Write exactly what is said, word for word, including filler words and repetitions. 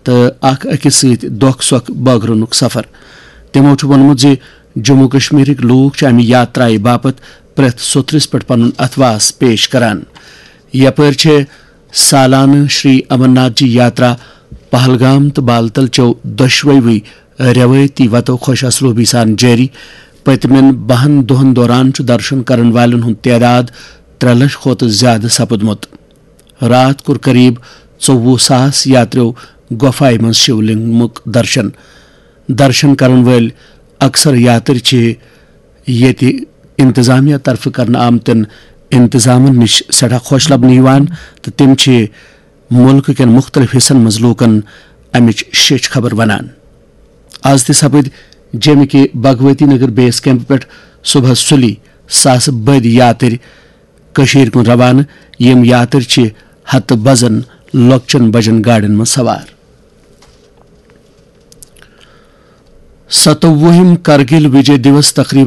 تہٕ اکھ أکِس سۭتۍ دۄکھ سۄکھ بٲگرُنُک سفر۔ تِمو چھُ ووٚنمُت زِ جموں کشمیرٕکۍ لوٗکھ چھِ امہِ یاترایہِ باپتھ پرٛٮ۪تھ سوٚتھرِس پٮ۪ٹھ پنُن اتھواس پیش کران۔ یپٲرۍ چھِ سالانہٕ شری امرناتھ جی یاترا پہلگام تہٕ بالتل چٮ۪و دۄشوٕے رٮ۪وٲیتی وتو خۄش اسلوبی سان جٲری۔ پٔتمٮ۪ن بَہَن دۄہَن دوران چھُ درشن کرن والٮ۪ن ہُنٛد تعداد ترٛےٚ لچھ کھۄتہٕ زیادٕ سپُدمُت۔ راتھ کوٚر قریب ژوٚوُہ ساس یاتریو گۄپھایہِ منٛز شیو لنگمُک درشن۔ درشن کرن وٲلۍ اکثر یاترۍ چھِ ییٚتہِ انتظامیہ طرفہٕ کرنہٕ آمتٮ۪ن انتظامن نِش سٮ۪ٹھاہ خۄش لبنہٕ یِوان تہٕ تِم چھِ مُلکہٕ کٮ۪ن مُختٔلِف حصن منٛز لوٗکن امِچ شیٚچھ خبر ونان۔ از تہِ سپٕدۍ جیٚمہِ کہِ بھگوتی نگر بیس کیمپ پٮ۪ٹھ صبحس سُلی ساسہٕ بٔدۍ یاترۍ کٔشیٖرِ کُن روانہٕ۔ یِم یاترۍ چھِ ہتہٕ بزن لۄکچن بجن گاڑٮ۪ن منٛز سوار۔ ستووُہِم کرگِل وِجے دیوس تقریٖبن